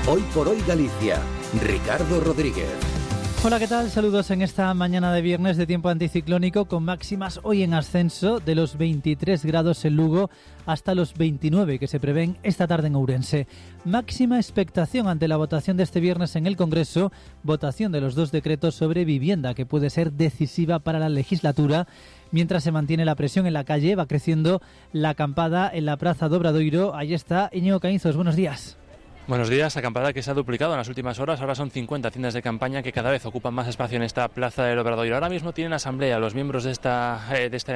Hoy por hoy Galicia, Ricardo Rodríguez. Hola, ¿qué tal? Saludos en esta mañana de viernes de tiempo anticiclónico con máximas hoy en ascenso de los 23 grados en Lugo hasta los 29 que se prevén esta tarde en Ourense. Máxima expectación ante la votación de este viernes en el Congreso, votación de los 2 decretos sobre vivienda que puede ser decisiva para la legislatura. Mientras se mantiene la presión en la calle, va creciendo la acampada en la Praza do Obradoiro. Ahí está Íñigo Caínzos, buenos días. Buenos días, acampada que se ha duplicado en las últimas horas. Ahora son 50 tiendas de campaña que cada vez ocupan más espacio en esta Plaza del Obradoiro. Ahora mismo tienen asamblea los miembros de esta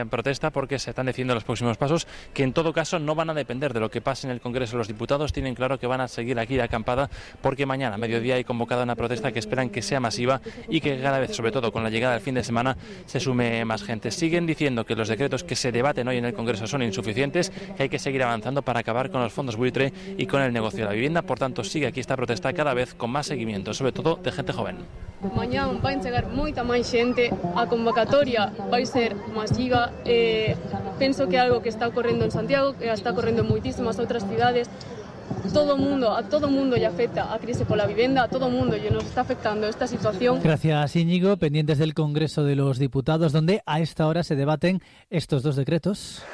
protesta porque se están decidiendo los próximos pasos que en todo caso no van a depender de lo que pase en el Congreso. Los diputados tienen claro que van a seguir aquí de acampada porque mañana a mediodía hay convocada una protesta que esperan que sea masiva y que cada vez, sobre todo con la llegada del fin de semana, se sume más gente. Siguen diciendo que los decretos que se debaten hoy en el Congreso son insuficientes, que hay que seguir avanzando para acabar con los fondos buitre y con el negocio de la vivienda. Por tanto, sigue aquí esta protesta cada vez con más seguimiento, sobre todo de gente joven. Mañá vai chegar moita máis xente, a convocatoria vai ser masiva, penso que é algo que está ocorrendo en Santiago, que está ocorrendo en moitísimas outras cidades. A todo mundo lle afecta a crise pola vivenda, a todo mundo lle nos está afectando esta situación. Gracias, Íñigo. Pendientes del Congreso de los Diputados, donde a esta hora se debaten estos 2 decretos.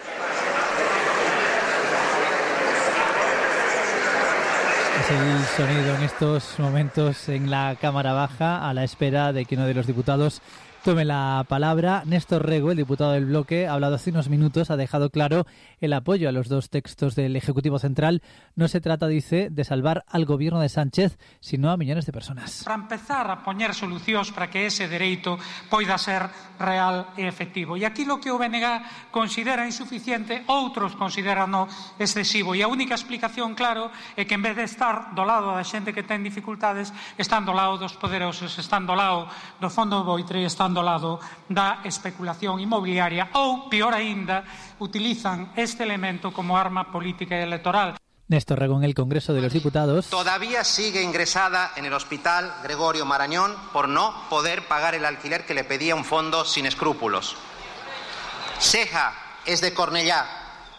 Es el sonido en estos momentos en la Cámara Baja, a la espera de que uno de los diputados tome la palabra. Néstor Rego, el diputado del bloque, ha hablado hace unos minutos, ha dejado claro el apoyo a los 2 textos del Ejecutivo Central. No se trata, dice, de salvar al gobierno de Sánchez, sino a millones de personas. Para empezar a poñer solucións para que ese dereito poida ser real e efectivo. E aquí lo que o BNG considera insuficiente, outros consideran excesivo. E a única explicación, claro, é que en vez de estar do lado da xente que ten dificultades, están do lado dos poderosos, están do lado do fondo buitre, están do lado da especulación inmobiliaria ou, peor aínda, utilizan este elemento como arma política y electoral. Néstor Rego en el Congreso de los Diputados. Todavía sigue ingresada en el Hospital Gregorio Marañón por no poder pagar el alquiler que le pedía un fondo sin escrúpulos. Ceja es de Cornellá,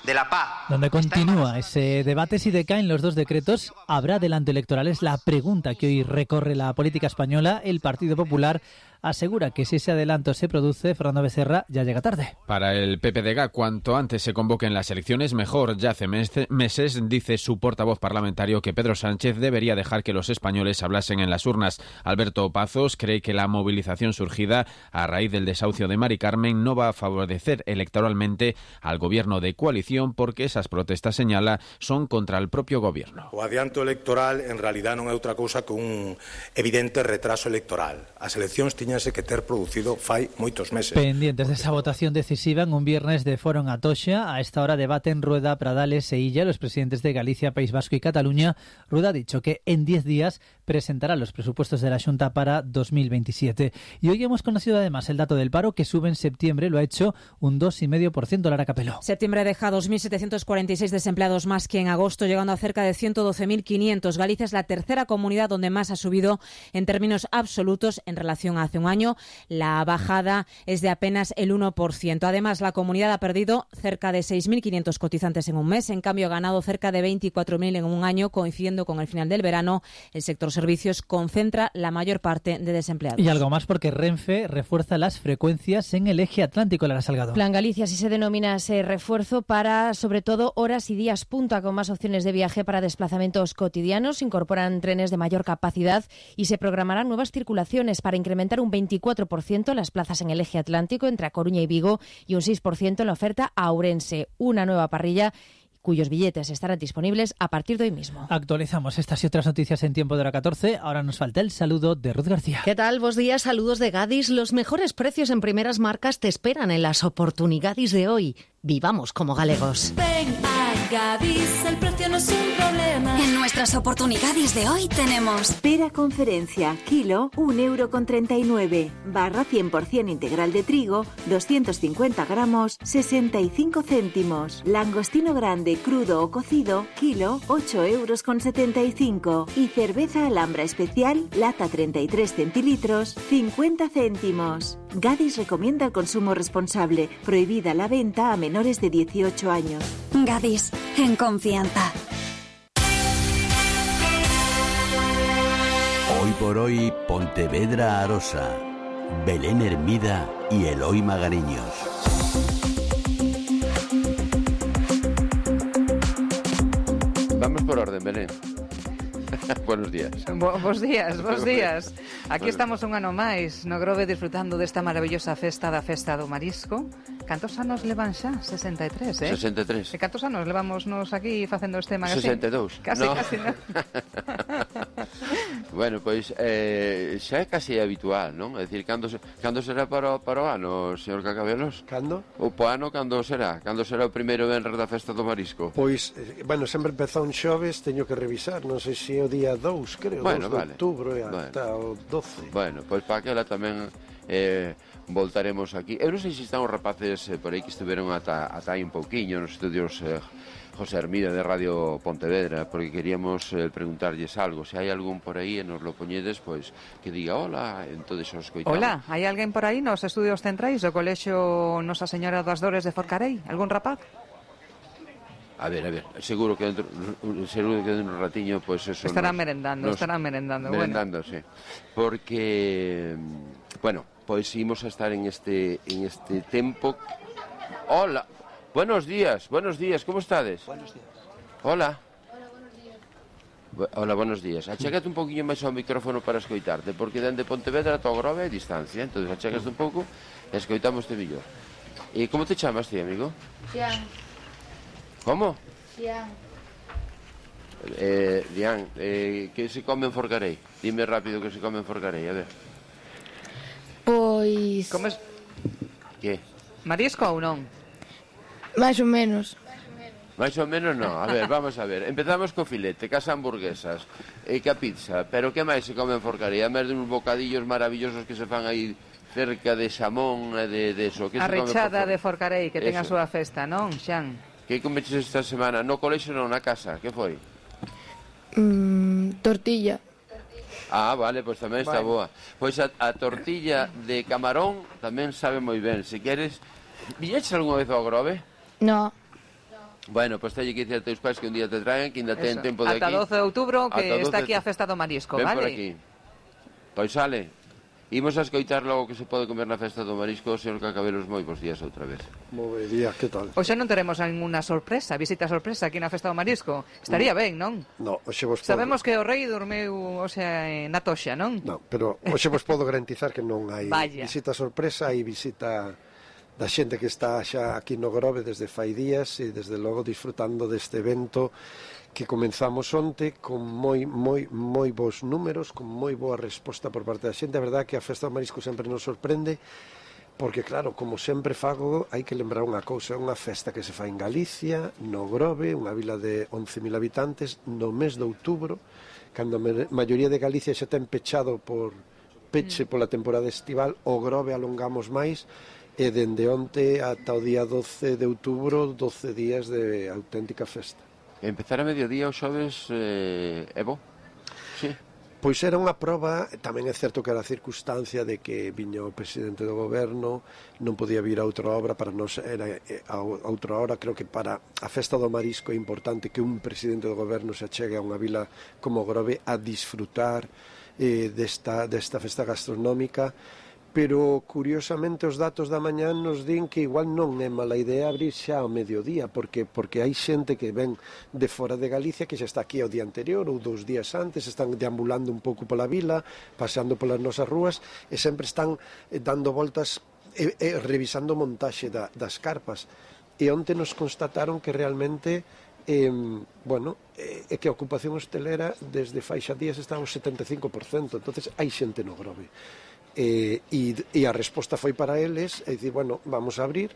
de La Paz. Donde continúa ese debate si decaen los 2 decretos, ¿habrá adelanto electoral? Es la pregunta que hoy recorre la política española. El Partido Popular asegura que si ese adelanto se produce, Fernando Becerra ya llega tarde. Para el PPDG, cuanto antes se convoquen las elecciones, mejor. Ya hace meses, dice su portavoz parlamentario, que Pedro Sánchez debería dejar que los españoles hablasen en las urnas. Alberto Pazos cree que la movilización surgida a raíz del desahucio de Mari Carmen no va a favorecer electoralmente al gobierno de coalición, porque esas protestas, señala, son contra el propio gobierno. O adianto electoral en realidad non é outra cousa que un evidente retraso electoral. As eleccións tiñanse que ter producido fai moitos meses. Pendientes de esa votación decisiva en un viernes de foro en Atocha. A esta hora debaten Rueda, Pradales e Illa, los presidentes de Galicia, País Vasco y Cataluña. Rueda ha dicho que en 10 días presentará los presupuestos de la Xunta para 2027. Y hoy hemos conocido además el dato del paro, que sube en septiembre, lo ha hecho un 2,5%. Lara Capeló. Septiembre deja 2.746 desempleados más que en agosto, llegando a cerca de 112.500. Galicia es la tercera comunidad donde más ha subido en términos absolutos en relación a hace un año. La bajada es de apenas el 1%. Además, la comunidad ha perdido cerca de 6.500 cotizantes en un mes. En cambio, ha ganado cerca de 24.000 en un año, coincidiendo con el final del verano. El sector servicios concentra la mayor parte de desempleados. Y algo más, porque Renfe refuerza las frecuencias en el eje atlántico. Lara Salgado. Plan Galicia, así se denomina ese refuerzo, para sobre todo horas y días punta, con más opciones de viaje para desplazamientos cotidianos. Se incorporan trenes de mayor capacidad y se programarán nuevas circulaciones para incrementar un 24% las plazas en el eje atlántico entre A Coruña y Vigo y un 6% en la oferta a Ourense. Una nueva parrilla cuyos billetes estarán disponibles a partir de hoy mismo. Actualizamos estas y otras noticias en tiempo de hora 14. Ahora nos falta el saludo de Ruth García. ¿Qué tal? Bos días, saludos de Gadis. Los mejores precios en primeras marcas te esperan en las oportunidades de hoy. Vivamos como galegos. Ven a Gadis, el precio no es un problema. En nuestras oportunidades de hoy tenemos pera conferencia, kilo, 1,39 €. Barra 100% integral de trigo, 250 gramos, 65 céntimos. Langostino grande, crudo o cocido, kilo, 8,75 €. Y cerveza Alhambra especial, lata 33 centilitros, 50 céntimos. Gadis recomienda el consumo responsable. Prohibida la venta a menores de 18 años. Gadis, en confianza. por hoy Pontevedra Arosa, Belén Hermida y Eloy Magariños. Vamos por orden, Belén. Buenos días. Bos días. Aquí estamos un ano máis no Grove disfrutando desta maravillosa festa da Festa do Marisco. Cantos anos levan xa? 63, 63. E cantos anos levamos nos aquí facendo este magazine? 62. Casi, non? Bueno, pois xa é casi habitual, non? É dicir, cando será para o ano, señor Cacabelos? Cando? O ano cando será? Cando será o primeiro venres da Festa do Marisco? Pois, bueno, sempre empezou un xoves, teño que revisar, non sei se é o día 2, creo, bueno, 2 de outubro e ata o 12. Bueno, pois para aquela tamén voltaremos aquí. Eu non sei se están os rapaces por aí que estiveron ata aí un pouquiño nos estudios José Hermida de Radio Pontevedra, porque queríamos preguntarlles algo. Se hai algún por aí e nos lo poñedes, pois que diga hola, entonces os coitamos. Hola, hai alguén por aí nos estudios centrais do Colexio Nosa Señora das Dores de Forcarei? Algún rapaz? A ver, seguro que dentro un ratiño, pois eso estarán merendando. Merendando, bueno. Sí. Porque, bueno, pois imos a estar en este tempo. Hola, buenos días, ¿cómo estades? Buenos días. Hola. Hola, buenos días. Achégate un poquinho máis ao micrófono para escoitarte, porque dende Pontevedra a Grove é distancia, entonces achegaste un pouco e escoitamos-te mellor. E como te chamas ti, amigo? Xian. ¿Cómo? Xian. Dian, que se come en Forcarei? Dime rápido que se come en Forcarei, a ver. Pois... Comes... Que? Marisco ou non? Máis ou menos. Máis ou menos non. A ver, vamos a ver. Empezamos co filete, cas hamburguesas e ca pizza. Pero que máis se come en Forcarei? A máis de uns bocadillos maravillosos que se fan aí cerca de xamón e de eso. A rechada de Forcarei, que ten a súa festa, non, Xan? Que comeches esta semana? No colexo non, na casa. Que foi? Tortilla. Ah, vale, pois tamén está boa. Pois a tortilla de camarón tamén sabe moi ben. Se queres... Viñeches algunha vez ao Grove? No. Bueno, pois teñe que dicir a teus pais que un día te traen, que ainda ten tempo de aquí. Ata 12 de outubro, que está aquí a Festa do Marisco, ven vale? Por aquí. Pois sale. Imos a escoitar logo que se pode comer na Festa do Marisco. Señor Cacabelos, moi bons días outra vez. Moi día, que tal? Hoxe non teremos ninguna sorpresa, visita sorpresa aquí na Festa do Marisco. Estaría ben, non? No, hoxe vos Sabemos que o rei dormeu, na toxa, non? Non, pero hoxe vos podo garantizar que non hai visita sorpresa, hai visita da xente que está xa aquí no Grove desde fai días e desde logo disfrutando deste evento que comenzamos onte con moi bons números, con moi boa resposta por parte da xente. A verdade que a Festa do Marisco sempre nos sorprende, porque claro, como sempre fago, hai que lembrar unha cousa, é unha festa que se fai en Galicia, no Grove, unha vila de 11.000 habitantes, no mes de outubro, cando a maioría de Galicia xa ten pechado por peche pola temporada estival, o Grove alongamos máis, e dende onte ata o día 12 de outubro, 12 días de auténtica festa. Empezar a mediodía os xoves, Evo? Sí. Pois era unha proba, tamén é certo que era a circunstancia de que viña o presidente do goberno, non podía vir a outra obra, para nós era a outra hora, creo que para a Festa do Marisco é importante que un presidente do goberno se achegue a unha vila como Grove a disfrutar desta festa gastronómica, pero curiosamente os datos da mañá nos din que igual non é mala idea abrir xa ao mediodía, porque hai xente que ven de fora de Galicia que xa está aquí o día anterior ou 2 días antes, están deambulando un pouco pola vila, paseando polas nosas rúas e sempre están dando voltas e revisando montaxe das carpas. E onte nos constataron que realmente é que a ocupación hostelera desde fai xa días está ao 75%, entonces hai xente no Grove. E a resposta foi para eles, é dicir, vamos a abrir,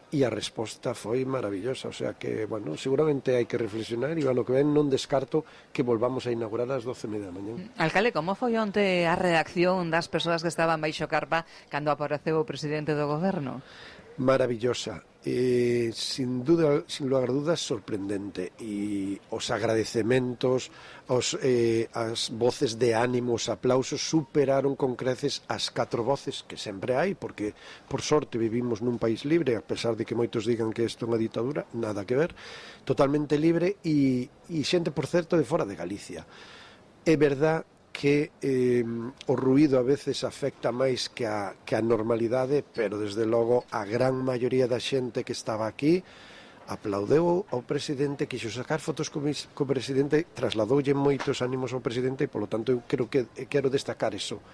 e a resposta foi maravillosa, o sea que, seguramente hai que reflexionar, e ano que ven non descarto que volvamos a inaugurar ás 12:30 da mañá. Alcalde, como foi onte a reacción das persoas que estaban baixo carpa cando apareceu o presidente do goberno? Maravillosa, sin duda, sin lugar a dudas, sorprendente, e os agradecementos, as voces de ánimo, os aplausos superaron con creces as 4 voces que sempre hai, porque por sorte vivimos nun país libre, a pesar de que moitos digan que isto é unha ditadura, nada que ver, totalmente libre, e xente, por certo, de fora de Galicia. É verdad que o ruído a veces afecta máis que a normalidade, pero desde logo a gran maioría da xente que estaba aquí aplaudeu ao presidente, quixo sacar fotos co presidente, trasladoulle moitos ánimos ao presidente e polo tanto eu quero destacar eso.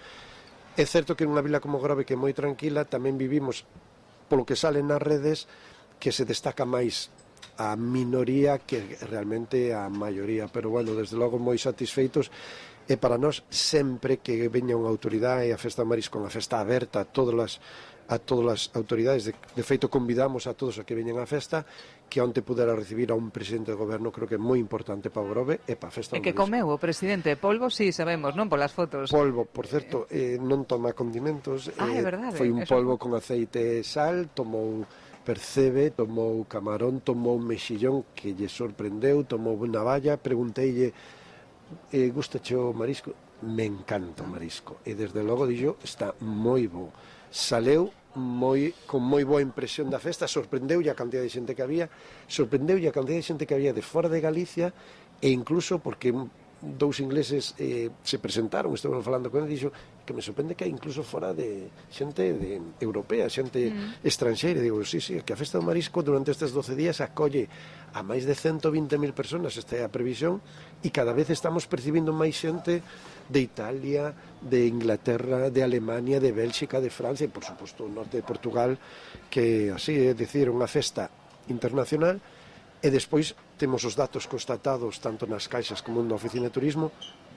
É certo que en unha vila como Grove, que é moi tranquila, tamén vivimos, polo que sale nas redes, que se destaca máis a minoría que realmente a maioría, pero bueno, desde logo moi satisfeitos. E para nós, sempre que veña unha autoridade, a Festa do Marisco, unha festa aberta a todas as autoridades, de feito convidamos a todos a que veñan á festa, que onte pudera recibir a un presidente do goberno, creo que é moi importante para o Grove e para a Festa do Marisco. E que comeu o presidente? Polvo, sí, sabemos, non? Polas fotos. Polvo, por certo, non toma condimentos. É verdade. Foi un polvo con aceite e sal, tomou percebe, tomou camarón, tomou mexillón que lle sorprendeu, tomou navalla, pregunteille gustache o marisco? Me encanta o marisco. E desde logo dixo, está moi bo. Saleu con moi boa impresión da festa, sorprendeulle a cantidad de xente que había, de fora de Galicia, e incluso porque dous ingleses se presentaron, estaban falando con ele, dixo que me sorprende que hai incluso fora de xente europea, xente estranxeira. Digo, sí, que a Festa do Marisco durante estes 12 días acolle a máis de 120.000 personas, esta é a previsión, e cada vez estamos percibindo máis xente de Italia, de Inglaterra, de Alemania, de Bélxica, de Francia, e por suposto o norte de Portugal, que así é dicir, unha festa internacional. E despois temos os datos constatados tanto nas caixas como na oficina de turismo.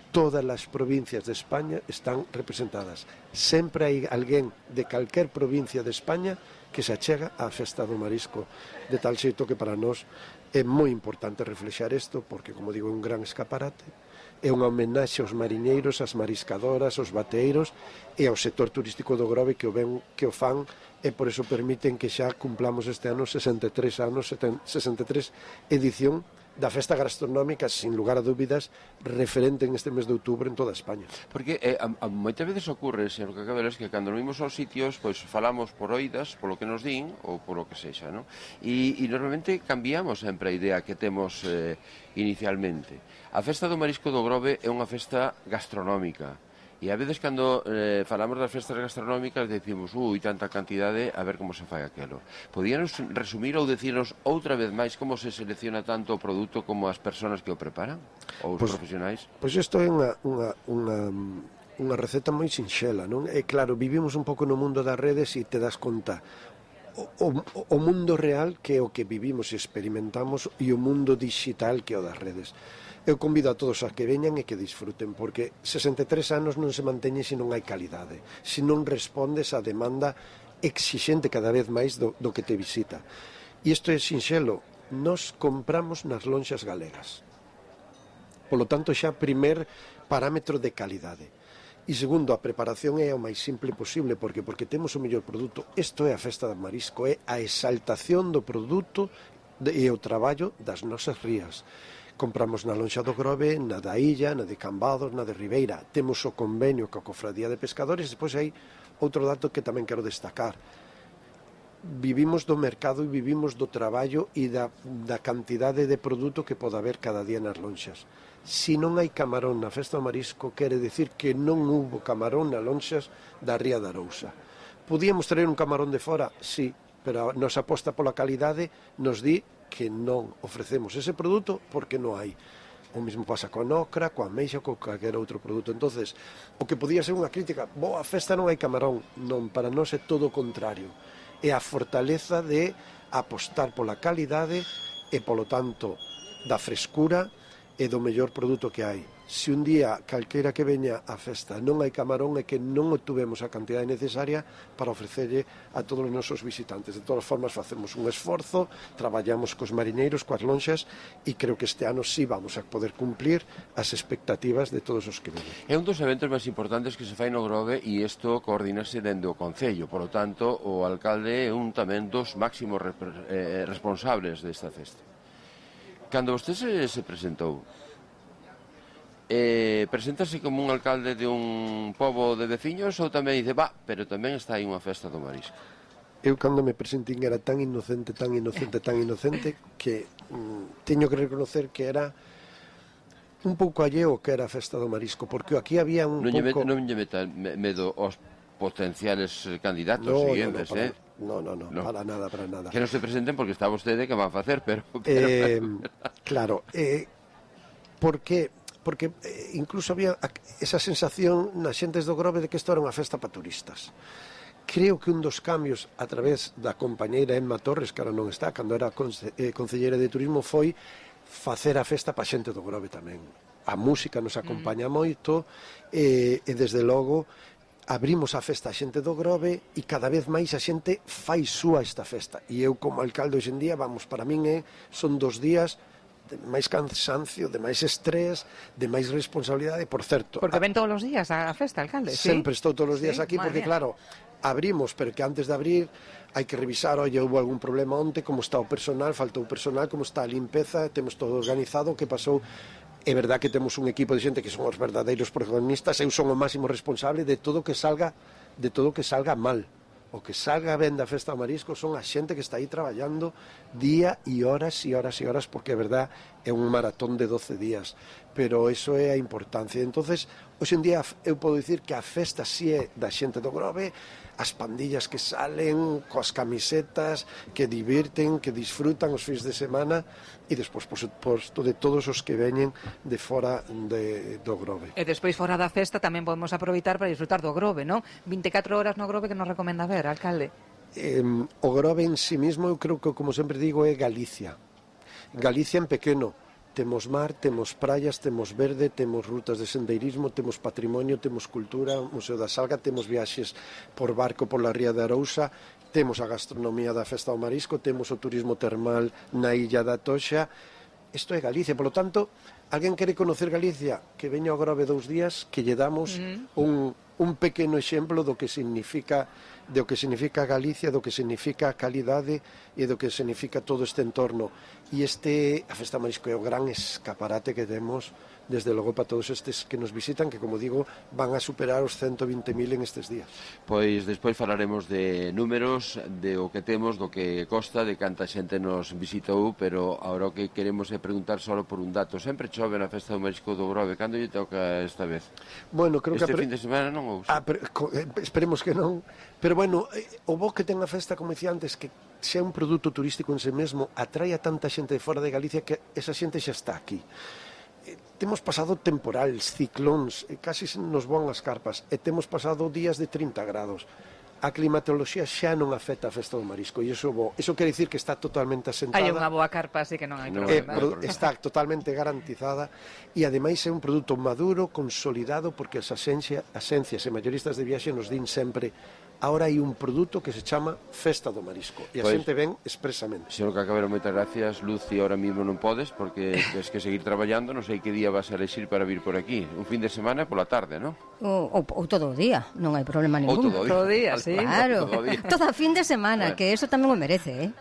Todas as provincias de España están representadas. Sempre hai alguén de calquer provincia de España que se achega á Festa do Marisco, de tal xeito que para nós é moi importante reflexar isto, porque, como digo, é un gran escaparate, é unha homenaxe aos mariñeiros, ás mariscadoras, aos bateeiros e ao sector turístico do Grove que o fan, e por iso permiten que xa cumplamos este ano 63 edición da festa gastronómica, sin lugar a dúbidas, referente en este mes de outubro en toda España. Porque moitas veces ocorre, señor Cacabelas, que cando nos vimos aos sitios, pois falamos por oídas, polo que nos din, ou polo que sexa, non? E normalmente cambiamos sempre a idea que temos inicialmente. A Festa do Marisco do Grove é unha festa gastronómica. E a veces cando falamos das festas gastronómicas decimos, tanta cantidade, a ver como se fai aquelo. Podíanos resumir ou decirnos outra vez máis como se selecciona tanto o produto como as persoas que o preparan? Ou os profesionais? Pois isto é unha receta moi sinxela, non? E claro, vivimos un pouco no mundo das redes e te das conta o mundo real que é o que vivimos e experimentamos e o mundo digital que é o das redes. Eu convido a todos a que veñan e que disfruten, porque 63 anos non se manteñe se non hai calidade, se non respondes á demanda exixente cada vez máis do que te visita. E isto é sinxelo, nos compramos nas lonxas galegas. Polo tanto, xa primer parámetro de calidade. E segundo, a preparación é o máis simple posible, porque temos o mellor produto. Isto é a Festa do Marisco, é a exaltación do produto e o traballo das nosas rías. Compramos na lonxa do Grove, na da Illa, na de Cambados, na de Ribeira. Temos o convenio coa Cofradía de Pescadores. Despois hai outro dato que tamén quero destacar. Vivimos do mercado e vivimos do traballo e da cantidade de produto que pode haber cada día nas lonxas. Se non hai camarón na Festa do Marisco, quere decir que non hubo camarón nas lonxas da Ría da Arousa. Podíamos traer un camarón de fora? Sí, pero a nosa aposta pola calidade nos di que non ofrecemos ese produto porque non hai. O mesmo pasa coa nocra, coa ameixa, con calquer outro produto. Entonces, o que podía ser unha crítica, a festa non hai camarón, non, para nós é todo o contrario. É a fortaleza de apostar pola calidade e, polo tanto, da frescura e do mellor produto que hai. Se un día calquera que veña á festa non hai camarón, é que non obtuvemos a cantidade necesaria para ofrecerlle a todos os nosos visitantes. De todas formas, facemos un esforzo, traballamos cos mariñeiros, coas lonxas, e creo que este ano sí vamos a poder cumplir as expectativas de todos os que veñen. É un dos eventos máis importantes que se fai no Grove e isto coordinase dende o Concello. Por lo tanto, o alcalde é un tamén dos máximos responsables desta festa. Cando vostede se presentou, preséntase como un alcalde de un pobo de veciños ou tamén dice, pero tamén está aí unha festa do marisco? Eu cando me presentín era tan inocente que teño que reconocer que era un pouco alleo que era a festa do marisco, porque aquí había un pouco... Non lle meta medo aos potenciales candidatos siguientes, No, para nada. Que non se presenten porque está vostede que van a facer, pero... Claro, porque incluso había esa sensación nas xentes do Grove de que isto era unha festa para turistas. Creo que un dos cambios a través da compañeira Emma Torres, que ahora non está, cando era concelleira de turismo, foi facer a festa para xente do Grove tamén. A música nos acompaña moito e desde logo abrimos a festa a xente do Grove e cada vez máis a xente fai súa esta festa. E eu como alcalde hoxe en día, para min son 2 días de máis cansancio, de máis estrés, de máis responsabilidade, por certo. Porque ven todos os días a festa, alcalde, ¿sí? Sempre estou todos os días aquí, porque claro, abrimos, pero que antes de abrir hai que revisar, oye, houve algún problema onte, como está o personal, faltou personal, como está a limpeza, temos todo organizado, que pasou. É verdad que temos un equipo de xente que son os verdadeiros protagonistas, eu son o máximo responsable de todo que salga mal. O que salga ben da festa do marisco son a xente que está aí traballando día e horas, porque é verdad, é un maratón de 12 días, pero eso é a importancia. Entonces, hoxe en día eu podo dicir que a festa si é da xente do Grove, as pandillas que salen coas camisetas, que divirten, que disfrutan os fins de semana, e despois, por suposto, de todos os que veñen de fora do Grove. E despois, fora da festa, tamén podemos aproveitar para disfrutar do Grove, non? 24 horas no Grove, que nos recomenda ver, alcalde? O Grove en sí mismo, eu creo que, como sempre digo, é Galicia. Galicia en pequeno. Temos mar, temos praias, temos verde, temos rutas de sendeirismo, temos patrimonio, temos cultura, Museo da Salga, temos viaxes por barco pola ría de Arousa, temos a gastronomía da festa do marisco, temos o turismo termal na illa da Toxa. Isto é Galicia, polo tanto, alguén quere conocer Galicia, que veña ao Grove 2 días, que lle damos un pequeno exemplo do que significa Galicia, do que significa a calidade e do que significa todo este entorno. E a Festa Marisco é o gran escaparate que temos, desde logo, para todos estes que nos visitan, que, como digo, van a superar os 120.000 en estes días. Pois despois falaremos de números, de o que temos, do que costa, de canta xente nos visitou, pero agora o que queremos é preguntar só por un dato. Sempre chove na Festa do Marisco do Grove. Cando lle toca esta vez? Bueno, creo que fin de semana non? Esperemos que non. Pero, bueno, o bo que ten a festa, como dicía antes, que xa un produto turístico en sí mesmo, atrae a tanta xente de fora de Galicia que esa xente xa está aquí. Temos pasado temporales, ciclóns, casi nos voan as carpas, e temos pasado días de 30 grados. A climatoloxía xa non afecta a Festa do Marisco, e iso bo. Iso quere dicir que está totalmente asentada. Hai unha boa carpa, así que non hai problema. Está totalmente garantizada, e ademais é un produto maduro, consolidado, porque as axencias e mayoristas de viaxe nos din sempre: ahora hai un produto que se chama Festa do Marisco, e a xente ven expresamente. Señor Cacabero, moitas gracias. Luci, ahora mismo non podes, porque tens que seguir traballando. Non sei que día vas a elexir para vir por aquí. Un fin de semana pola tarde, non? Ou todo o día, non hai problema ningún. Todo o día, sí. Claro, todo fin de semana, que eso tamén o merece,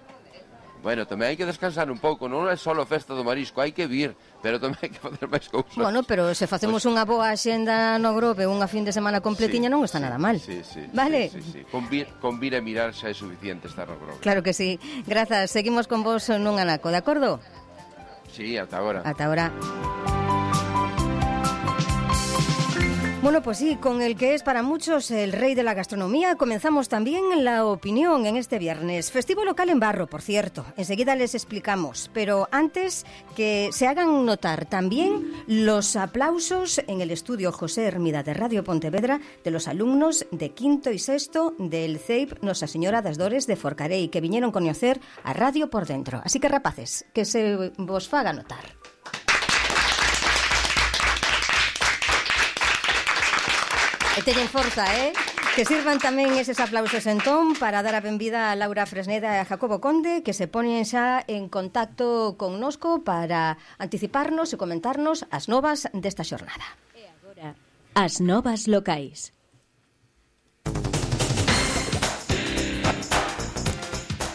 Bueno, tamén hai que descansar un pouco, non é só Festa do Marisco, hai que vir, pero tamén hai que facer máis cousas. Bueno, pero se facemos unha boa axenda no Grove, unha fin de semana completiña, non está nada mal. Sí. Vale? Sí. Convir e mirar xa é suficiente estar no Grove. Claro que sí. Grazas, seguimos con vos nun anaco, de acordo? Sí, ata agora. Ata agora. Bueno, pues sí, con el que es para muchos el rey de la gastronomía, comenzamos también la opinión en este viernes. Festivo local en Barro, por cierto. Enseguida les explicamos. Pero antes, que se hagan notar también los aplausos en el estudio José Hermida de Radio Pontevedra de los alumnos de quinto y sexto del CEIP Nosa Señora das Dores de Forcarei, que viñeron conocer a Radio por dentro. Así que, rapaces, que se vos faga notar. E teñen forza, Que sirvan tamén eses aplausos entón para dar a benvida a Laura Fresneda e a Jacobo Conde, que se ponen xa en contacto connosco para anticiparnos e comentarnos as novas desta xornada. E agora, as novas locais.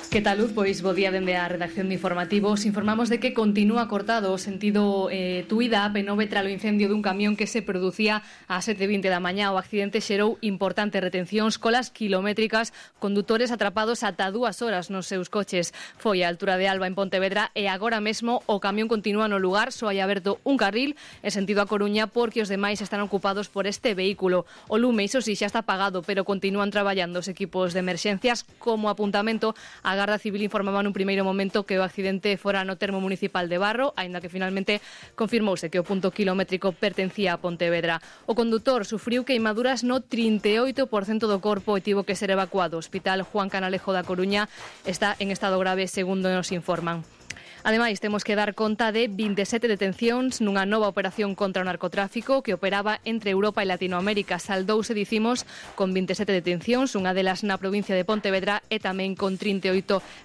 Que tal, Luz? Pois bo día dende a redacción de Informativos. Informamos de que continúa cortado o sentido Tuída AP9 tralo incendio dun camión que se producía ás 7:20 da mañá. O accidente xerou importantes retencións, colas kilométricas, condutores atrapados ata 2 horas nos seus coches. Foi a altura de Alba en Pontevedra e agora mesmo o camión continúa no lugar, só hai aberto un carril en sentido a Coruña porque os demais están ocupados por este vehículo. O lume, iso sí, xa está apagado, pero continúan traballando os equipos de emerxencias. Como apuntamento, a Garda Civil informaba nun primeiro momento que o accidente fora no termo municipal de Barro, aínda que finalmente confirmouse que o punto kilométrico pertencía a Pontevedra. O condutor sufriu queimaduras no 38% do corpo e tivo que ser evacuado. O Hospital Juan Canalejo da Coruña está en estado grave, segundo nos informan. Ademais, temos que dar conta de 27 detencións nunha nova operación contra o narcotráfico que operaba entre Europa e Latinoamérica. Saldouse, dicimos, con 27 detencións, unha delas na provincia de Pontevedra e tamén con 38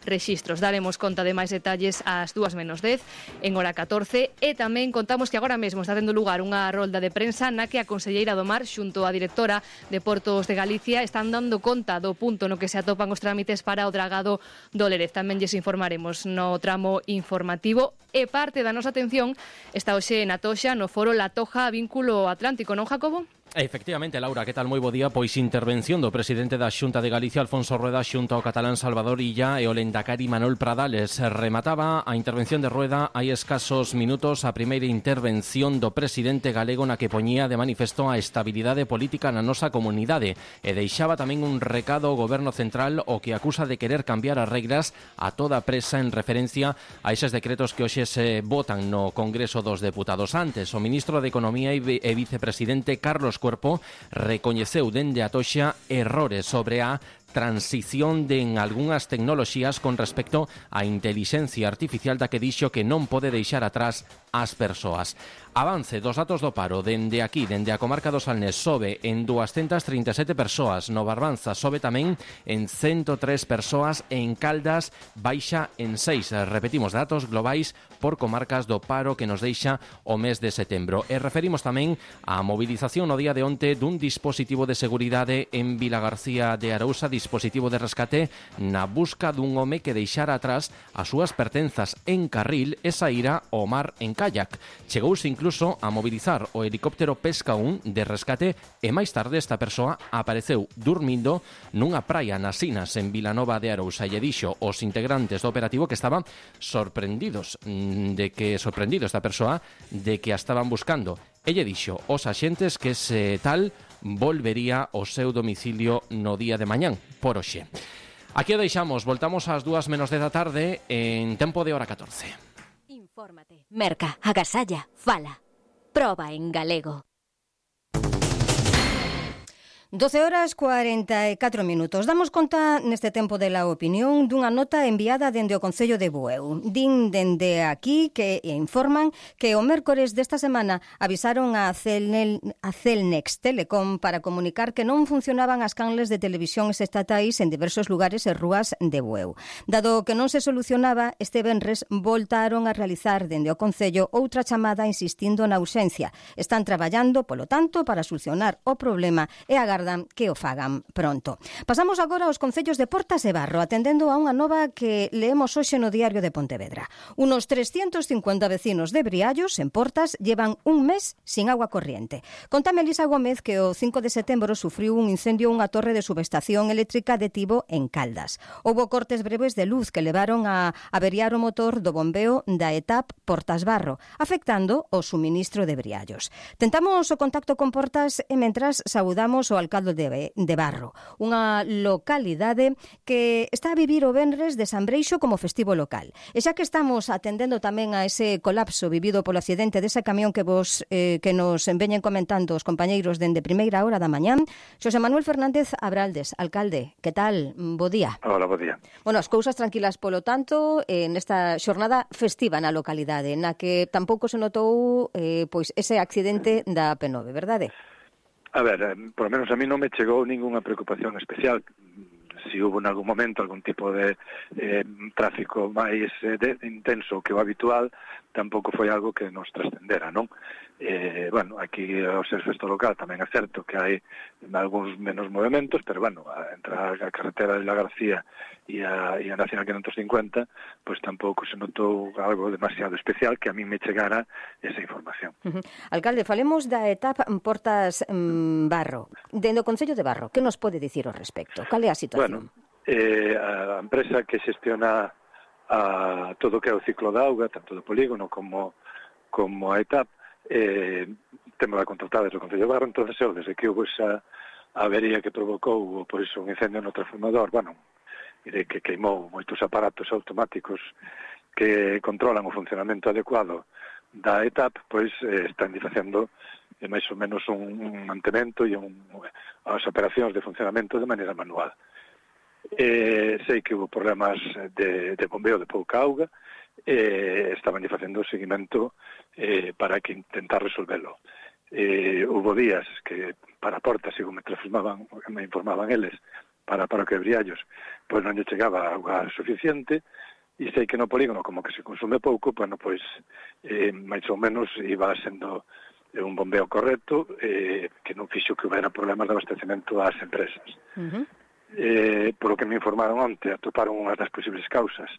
rexistros. Daremos conta de máis detalles ás 2:10 en hora 14 e tamén contamos que agora mesmo está tendo lugar unha rolda de prensa na que a conselleira do Mar xunto á directora de Portos de Galicia están dando conta do punto no que se atopan os trámites para o dragado do Lérez. Tamén lles informaremos no tramo informativo e parte da nosa atención está hoxe na Toxa no foro La Toja Vínculo Atlántico, non, Jacobo? Efectivamente, Laura, que tal? Moi bo día. Pois intervención do presidente da Xunta de Galicia, Alfonso Rueda, xunto ao catalán Salvador Illa e o lendakari Manuel Pradales. Remataba a intervención de Rueda hai escasos minutos a primeira intervención do presidente galego na que poñía de manifesto a estabilidade política na nosa comunidade e deixaba tamén un recado ao goberno central o que acusa de querer cambiar as regras a toda presa en referencia a eses decretos que hoxe se votan no Congreso dos Deputados. Antes, o ministro de Economía e vicepresidente Carlos Cuerpo recoñeceu dende a Toxa errores sobre a transición de en algunhas tecnoloxías con respecto á intelixencia artificial da que dixo que non pode deixar atrás as persoas. Avance dos datos do paro dende aquí, dende a comarca do Salnés, sobe en 237 persoas, no Barbanza sobe tamén en 103 persoas, en Caldas baixa en 6. Repetimos, datos globais por comarcas do paro que nos deixa o mes de setembro. E referimos tamén á movilización no día de onte dun dispositivo de seguridade en Vilagarcía de Arousa, dispositivo de rescate na busca dun home que deixara atrás as súas pertenzas en carril e saíra ao mar en kayak. Chegouse incluso a mobilizar o helicóptero Pesca 1 de rescate e máis tarde esta persoa apareceu dormindo nunha praia nas Sinas en Vilanova de Arousa e dixo os integrantes do operativo que estaban sorprendidos esta persoa de que a estaban buscando. Ella dixo os axentes que se tal volvería ao seu domicilio no día de mañán, por hoxe. Aquí o deixamos, voltamos ás 2:10 da tarde en tempo de hora 14. Infórmate, merca, agasalla, fala. Proba en galego. 12:44. Damos conta neste tempo de la opinión dunha nota enviada dende o Concello de Bueu. Din dende aquí que informan que o mércores desta semana avisaron a Celnex Telecom para comunicar que non funcionaban as canles de televisións estatais en diversos lugares e rúas de Bueu. Dado que non se solucionaba, este venres voltaron a realizar dende o Concello outra chamada insistindo na ausencia. Están traballando, polo tanto, para solucionar o problema e agardan que o fagan pronto. Pasamos agora aos concellos de Portas e Barro, atendendo a unha nova que leemos hoxe no Diario de Pontevedra. Unos 350 vecinos de Briallos, en Portas, llevan un mes sin agua corriente. Contame Elisa Gómez que o 5 de setembro sufriu un incendio unha torre de subestación eléctrica de Tibo en Caldas. Houbo cortes breves de luz que levaron a averiar o motor do bombeo da ETAP Portas Barro, afectando o suministro de Briallos. Tentamos o contacto con Portas e mentras saudamos o alcalde de Barro, unha localidade que está a vivir o venres de San Breixo como festivo local. E xa que estamos atendendo tamén a ese colapso vivido polo accidente dese camión que nos veñen comentando os compañeiros dende primeira hora da mañán, Xosé Manuel Fernández Abraldes, alcalde, que tal? Bo día. Hola, bo día. Bueno, as cousas tranquilas polo tanto nesta xornada festiva na localidade, na que tampouco se notou pois ese accidente da P9, verdade? A ver, por lo menos a mí non me chegou ninguna preocupación especial. Si hubo en algún momento algún tipo de tráfico máis intenso que o habitual, tampouco foi algo que nos trascendera, non? Bueno, aquí ao ser festa local tamén é certo que hai algúns menos movimentos, pero bueno, entre a carretera de la García e a Nacional 550, pois tampouco se notou algo demasiado especial que a mí me chegara esa información. Alcalde, falemos da etapa Portas Barro. Dentro do Concello de Barro, que nos pode dicir ao respecto? Cal é a situación? Bueno, a empresa que xestiona todo o que é o ciclo da auga, tanto do polígono como a etapa, temos a contratada do Concello de Barro, entonces desde que houve esa avería que provocou por iso un incendio no transformador, bueno, que queimou moitos aparatos automáticos que controlan o funcionamento adecuado da etapa, pois están facendo máis ou menos un mantemento e as operacións de funcionamento de maneira manual. Sei que houve problemas de bombeo de pouca auga, estaban facendo o seguimento para que intentar resolvelo. Houve días que para Portas, según me informaban eles, para o que Briallos, pois non lle chegaba auga suficiente, e sei que no polígono, como que se consume pouco, bueno, pois máis ou menos iba sendo un bombeo correcto, que non fixo que houbera problemas de abastecemento ás empresas. Por o que me informaron onte, atoparon unhas das posibles causas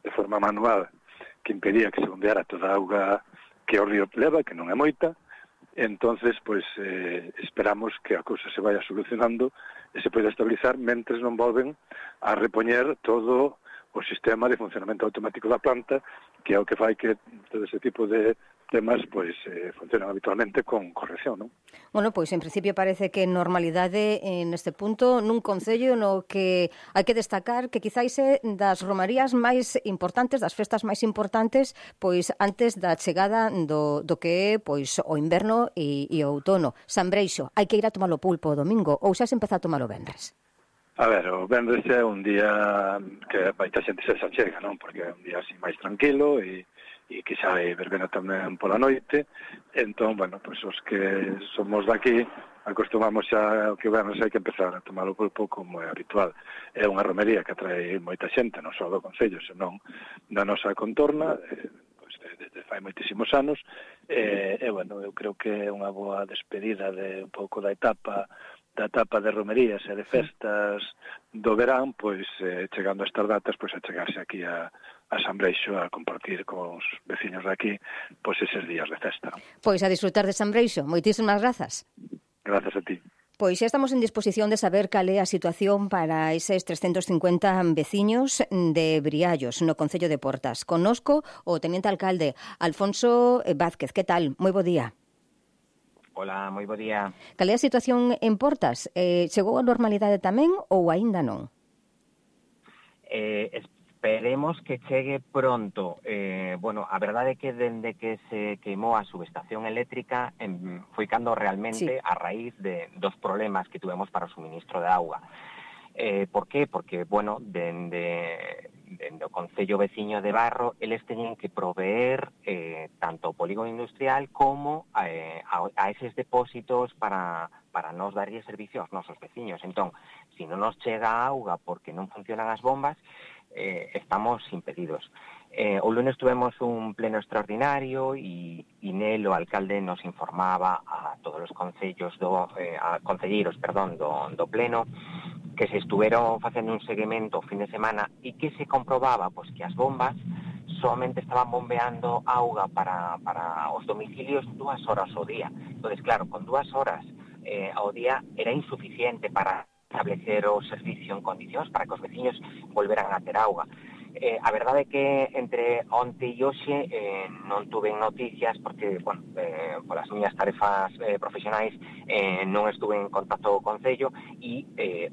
de forma manual que impedía que se bombeara toda a auga que o río leva, que non é moita. Entonces, pois, esperamos que a cousa se vaya solucionando e se poida estabilizar mentres non volven a repoñer todo o sistema de funcionamento automático da planta, que é o que fai que todo ese tipo de temas pois funcionan habitualmente con corrección, non? Bueno, pois en principio parece que normalidade neste punto nun concello no que hai que destacar que quizáis é das romarías máis importantes, das festas máis importantes, pois antes da chegada do que é pois o inverno e o outono. San Breixo, hai que ir a tomar o pulpo o domingo ou xa se empeza a tomar o vendres? A ver, o vendres é un día que baita xente se achega, non? Porque é un día así máis tranquilo e que xa hai verbena tamén pola noite. Entón, bueno, pois os que somos daqui acostumamos xa que o vernos hai que empezar a tomar o pulpo como é habitual. É unha romería que atrae moita xente, non só do Concello, senón da nosa contorna, pois desde fai moitísimos anos. Bueno, eu creo que é unha boa despedida de un pouco da etapa de romerías e de festas do verán, pois chegando a estas datas, pois a chegarse aquí a San Breixo a compartir cos veciños de aquí pois eses días de festa. Pois a disfrutar de San Breixo. Moitísimas grazas. Grazas a ti. Pois xa estamos en disposición de saber cal é a situación para eses 350 veciños de Briallos, no Concello de Portas. Connosco o teniente alcalde Alfonso Vázquez. Que tal? Moi bo día. Hola, moi bo día. Cal é a situación en Portas? Chegou a normalidade tamén ou aínda non? Esperemos que chegue pronto. Bueno, a verdade é que dende que se queimou a subestación eléctrica foi cando realmente a raíz dos problemas que tuvemos para o suministro de auga. Por qué? Porque, bueno, dende o Concello veciño de Barro, eles teñen que proveer tanto o polígono industrial como a eses depósitos para nos darlle servicio aos nosos veciños. Entón, se non nos chega a auga porque non funcionan as bombas, estamos impedidos. O lunes tuvemos un pleno extraordinario e nel o alcalde nos informaba a todos os concelleiros do pleno que se estuveron facendo un seguimento o fin de semana e que se comprobaba pois que as bombas somente estaban bombeando auga para os domicilios 2 horas ao día. Entón, claro, con 2 horas ao día era insuficiente para establecer o servicio en condicións para que os veciños volveran a ter auga. A verdade é que entre onte e hoxe non tuve noticias porque, bueno, polas miñas tarefas profesionais non estuve en contacto co Concello e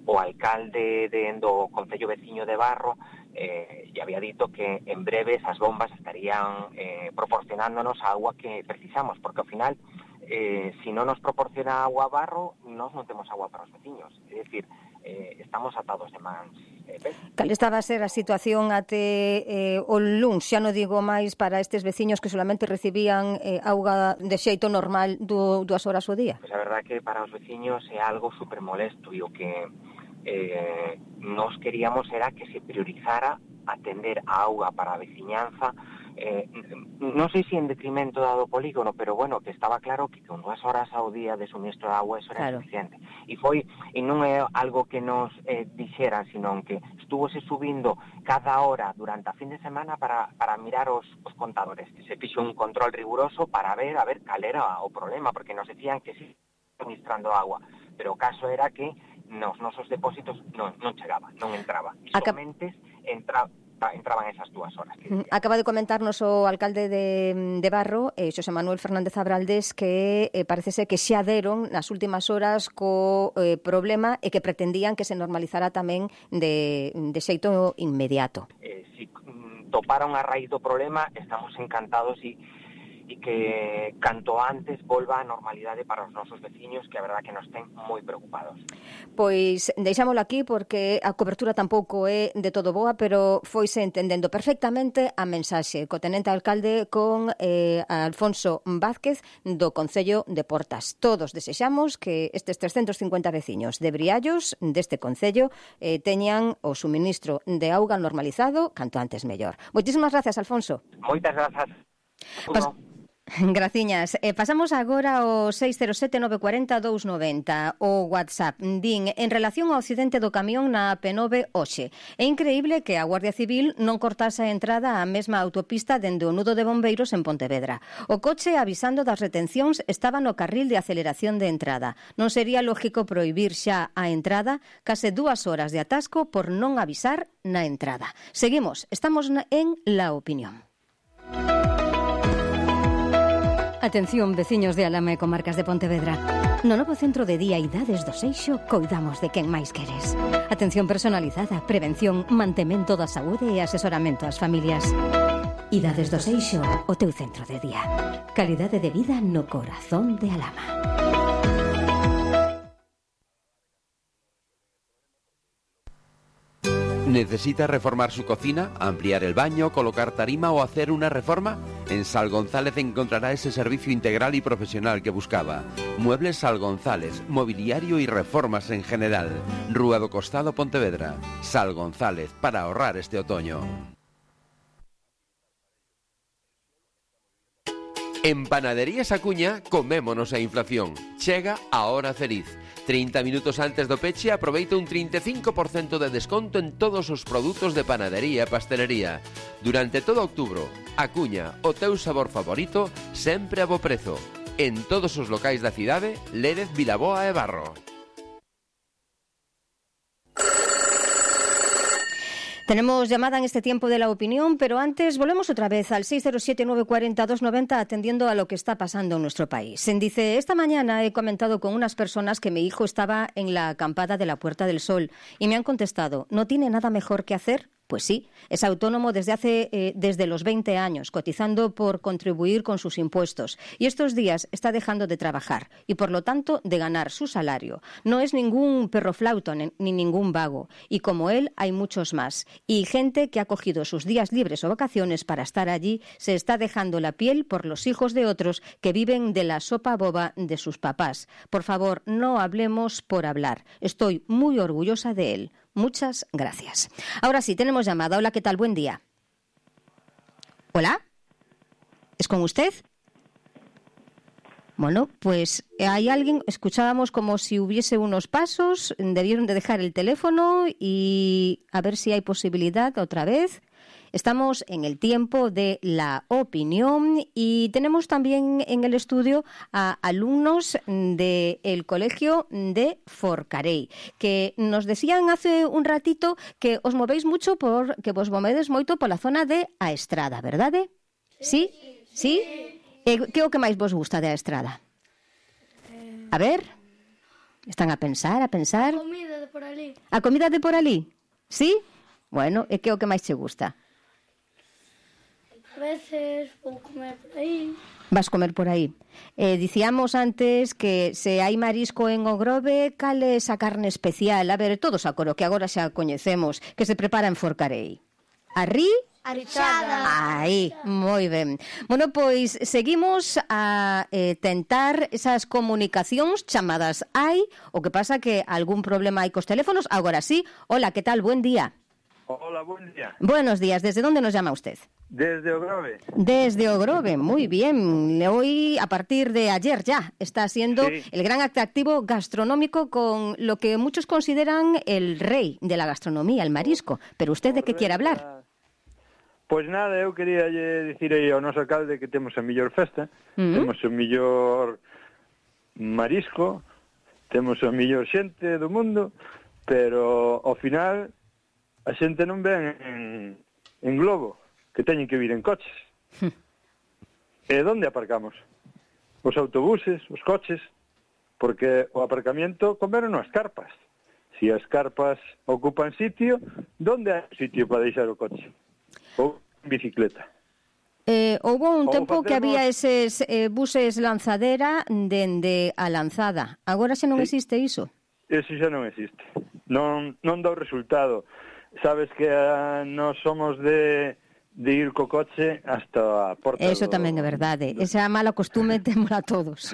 o alcalde do Concello veciño de Barro lle había dito que en breves as bombas estarían proporcionándonos a agua que precisamos, porque ao final se non nos proporciona agua a Barro, nós non temos agua para os veciños. É dicir, estamos atados de mans. Cal estaba a ser a situación até o luns? Xa non digo máis para estes veciños que solamente recibían auga de xeito normal 2 horas ao día. Pois a verdade que para os veciños é algo super molesto e o que nos queríamos era que se priorizara atender a auga para a veciñanza non sei se en detrimento do polígono, pero bueno, que estaba claro que con 2 horas ao día de suministro de agua eso era suficiente. E non é algo que nos dixeran, sino que estuvose subindo cada hora durante a fin de semana para mirar os contadores, que se fixo un control riguroso para ver cal era o problema, porque nos decían que sí suministrando agua, pero o caso era que nos nosos depósitos non chegaba, non entraba. E somente entraban esas 2 horas. Acaba de comentarnos o alcalde de Barro, Xosé Manuel Fernández Abraldés, que parece ser que xa deron nas últimas horas co problema e que pretendían que se normalizara tamén de xeito inmediato. Si toparon a raíz do problema, estamos encantados e que canto antes volva a normalidade para os nosos veciños, que a verdad que nos ten moi preocupados. Pois deixámoslo aquí porque a cobertura tampouco é de todo boa, pero foise entendendo perfectamente a mensaxe co tenente alcalde con Alfonso Vázquez do Concello de Portas. Todos desexamos que estes 350 veciños de Briallos deste Concello teñan o suministro de auga normalizado canto antes mellor. Moitísimas gracias, Alfonso. Moitas grazas. Graciñas. Pasamos agora ao 607-940-290, o WhatsApp. Din, en relación ao accidente do camión na P9 hoxe, é increíble que a Guardia Civil non cortase a entrada á mesma autopista dende o nudo de bombeiros en Pontevedra. O coche, avisando das retencións, estaba no carril de aceleración de entrada. Non sería lógico prohibir xa a entrada, case 2 horas de atasco por non avisar na entrada. Seguimos, estamos en La Opinión. Atención, veciños de Alama e comarcas de Pontevedra. No novo centro de día Idades do Seixo coidamos de quen máis queres. Atención personalizada, prevención, mantemento da saúde e asesoramento ás familias. Idades do Seixo, o teu centro de día. Calidade de vida no corazón de Alama. ¿Necesita reformar su cocina, ampliar el baño, colocar tarima o hacer una reforma? En Sal González encontrará ese servicio integral y profesional que buscaba. Muebles Sal González, mobiliario y reformas en general. Rúa do Costado, Pontevedra. Sal González, para ahorrar este otoño. En Panaderías Acuña, comémonos a inflación. Chega a hora feliz. 30 minutos antes do peche aproveita un 35% de desconto en todos os produtos de panadería e pastelería. Durante todo outubro, Acuña, o teu sabor favorito, sempre a bo prezo. En todos os locais da cidade, Lérez, Vilaboa e Barro. Tenemos llamada en este tiempo de La Opinión, pero antes volvemos otra vez al 607-940-290 atendiendo a lo que está pasando en nuestro país. Dice, esta mañana he comentado con unas personas que mi hijo estaba en la acampada de la Puerta del Sol y me han contestado, ¿no tiene nada mejor que hacer? Pues sí, es autónomo desde los 20 años, cotizando por contribuir con sus impuestos. Y estos días está dejando de trabajar y, por lo tanto, de ganar su salario. No es ningún perroflauto ni ningún vago. Y como él, hay muchos más. Y gente que ha cogido sus días libres o vacaciones para estar allí, se está dejando la piel por los hijos de otros que viven de la sopa boba de sus papás. Por favor, no hablemos por hablar. Estoy muy orgullosa de él. Muchas gracias. Ahora sí, tenemos llamada. Hola, ¿qué tal? Buen día. ¿Hola? ¿Es con usted? Bueno, pues hay alguien, escuchábamos como si hubiese unos pasos, debieron de dejar el teléfono y a ver si hay posibilidad otra vez. Estamos en el tiempo de La Opinión y tenemos también en el estudio a alumnos del colegio de Forcarei, que nos decían hace un ratito que os movéis mucho que vos movedes moito pola zona de A Estrada, verdade? Sí? Sí? Que é o que máis vos gusta de A Estrada? A ver, están a pensar. A comida de por ali. A comida de por ali? Sí? Bueno, e que é o que máis che gusta? A veces vou comer por aí. Vas comer por aí. Dicíamos antes que se hai marisco en Ogrove, cal é esa carne especial? A ver, todos a coro, que agora xa coñecemos, que se prepara en Forcarei. Arrichada. Aí, moi ben. Bueno, pois seguimos a tentar esas comunicacións chamadas hai, o que pasa que algún problema hai cos teléfonos. Agora sí, hola, que tal? Buen día. Hola, buen día. Buenos días. ¿Desde dónde nos llama usted? Desde Ogrove. Desde Ogrove, muy bien. Hoy, a partir de ayer ya, está siendo el gran atractivo gastronómico con lo que muchos consideran el rey de la gastronomía, el marisco. Pero ¿usted de qué quiere hablar? Pois nada, eu quería dicir aí ao noso alcalde que temos a mellor festa, temos o mellor marisco, temos a mellor xente do mundo, pero ao final a xente non ven en globo, que teñen que vir en coches. E onde aparcamos? Os autobuses, os coches, porque o aparcamiento comeron as carpas. Si as carpas ocupan sitio, onde hai sitio para deixar o coche? Ou en bicicleta. Houve un tempo que había eses buses lanzadera dende a Lanzada. Agora xa non existe iso? Eso xa non existe. Non dá o resultado. Sabes que nós somos de ir co coche hasta a porta. Eso tamén é verdade. Esa mala costume témola todos.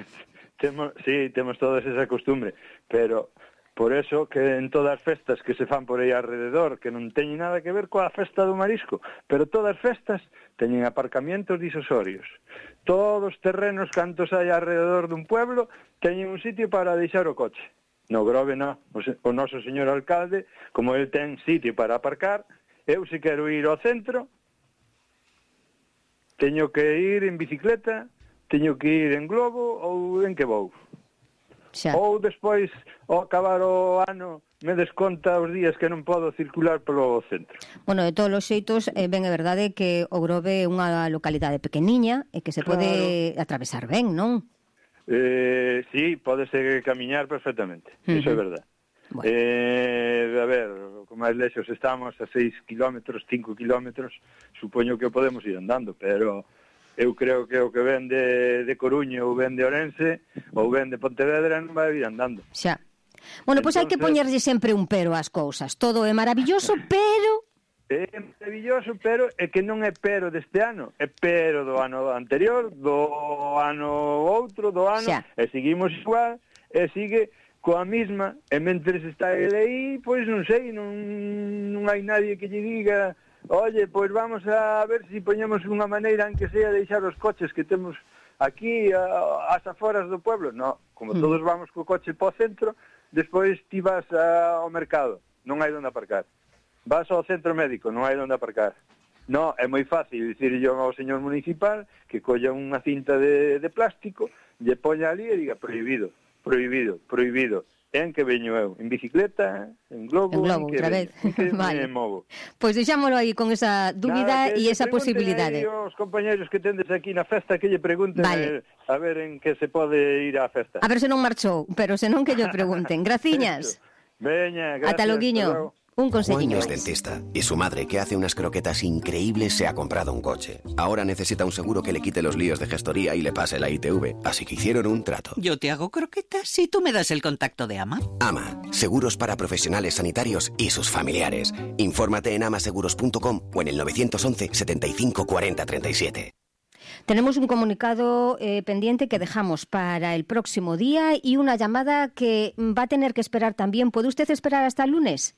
Temos todos esa costumbre, pero por eso que en todas as festas que se fan por aí alrededor, que non teñen nada que ver coa festa do marisco, pero todas as festas teñen aparcamientos disosorios. Todos os terrenos cantos hai alrededor dun pueblo teñen un sitio para deixar o coche. No Grove non. O noso señor alcalde, como el ten sitio para aparcar, eu se quero ir ao centro, teño que ir en bicicleta, teño que ir en globo ou en que vou. Ou despois, ao acabar o ano, me desconta os días que non podo circular polo centro. Bueno, de todos os xeitos, ben é verdade que o Grove é unha localidade pequeniña e que se pode atravesar ben, non? Sí, pódese camiñar perfectamente, iso é verdade. Bueno. A ver, como máis lexos estamos a 6 kilómetros, 5 kilómetros, supoño que podemos ir andando, pero eu creo que o que ven de Coruña ou ven de Ourense ou ven de Pontevedra non vai ir andando. Xa. Bueno, pois hai que poñerlle sempre un pero ás cousas. Todo é maravilloso, pero... É maravilloso, pero é que non é pero deste ano, é pero do ano anterior, do ano outro, do ano, e seguimos igual, e sigue coa mesma, e mentres está ele aí, pois non sei, non hai nadie que lle diga... Oye, pois vamos a ver se poñemos unha maneira en que sea deixar os coches que temos aquí ás aforas do pueblo. No, como todos vamos co coche po centro, despois ti vas ao mercado, non hai onde aparcar. Vas ao centro médico, non hai onde aparcar. No, é moi fácil dicirlle ao señor municipal que colla unha cinta de plástico, lle poña ali e diga prohibido, prohibido, prohibido. En que veño eu? En bicicleta? En globo? En que outra vez. Vale. Me movo. Pois deixámolo aí con esa dúbida e esa posibilidade. Os compañeros que tendes aquí na festa que lle pregunten a ver en que se pode ir á festa. A ver se non marchou, pero se non que lle pregunten. Graciñas. Veña, gracias. Ata loguiño. Un conseguiño. Juan es dentista y su madre, que hace unas croquetas increíbles, se ha comprado un coche. Ahora necesita un seguro que le quite los líos de gestoría y le pase la ITV, así que hicieron un trato. Yo te hago croquetas y tú me das el contacto de AMA. AMA, seguros para profesionales sanitarios y sus familiares. Infórmate en amaseguros.com o en el 911 75 40 37. Tenemos un comunicado pendiente que dejamos para el próximo día y una llamada que va a tener que esperar también. ¿Puede usted esperar hasta el lunes?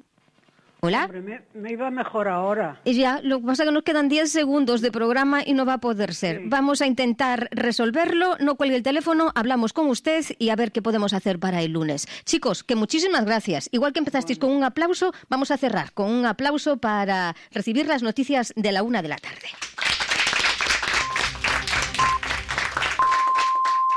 ¿Hola? Hombre, me iba mejor ahora. Y ya, lo que pasa es que nos quedan 10 segundos de programa y no va a poder ser. Sí. Vamos a intentar resolverlo, no cuelgue el teléfono, hablamos con usted y a ver qué podemos hacer para el lunes. Chicos, que muchísimas gracias. Igual que empezasteis con un aplauso, vamos a cerrar con un aplauso para recibir las noticias de la 1 de la tarde.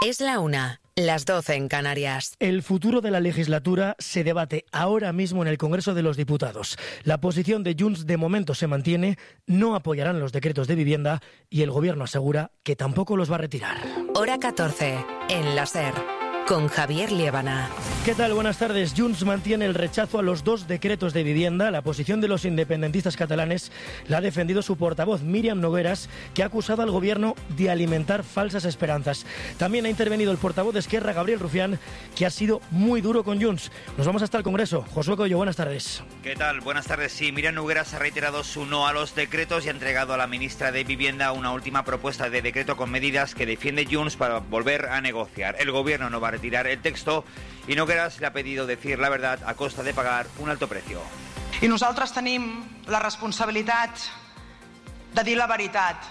Es la 1. Las 12 en Canarias. El futuro de la legislatura se debate ahora mismo en el Congreso de los Diputados. La posición de Junts de momento se mantiene, no apoyarán los decretos de vivienda y el Gobierno asegura que tampoco los va a retirar. Hora 14, en la SER, con Javier Liébana. ¿Qué tal? Buenas tardes. Junts mantiene el rechazo a los 2 decretos de vivienda. La posición de los independentistas catalanes la ha defendido su portavoz, Míriam Nogueras, que ha acusado al Gobierno de alimentar falsas esperanzas. También ha intervenido el portavoz de Esquerra, Gabriel Rufián, que ha sido muy duro con Junts. Nos vamos hasta el Congreso. Josué Coello, buenas tardes. ¿Qué tal? Buenas tardes. Sí, Míriam Nogueras ha reiterado su no a los decretos y ha entregado a la ministra de Vivienda una última propuesta de decreto con medidas que defiende Junts para volver a negociar. El Gobierno no va a retirar el texto y Nogueras le ha pedido decir la verdad a costa de pagar un alto precio. I nosaltres tenim la responsabilitat de dir la veritat.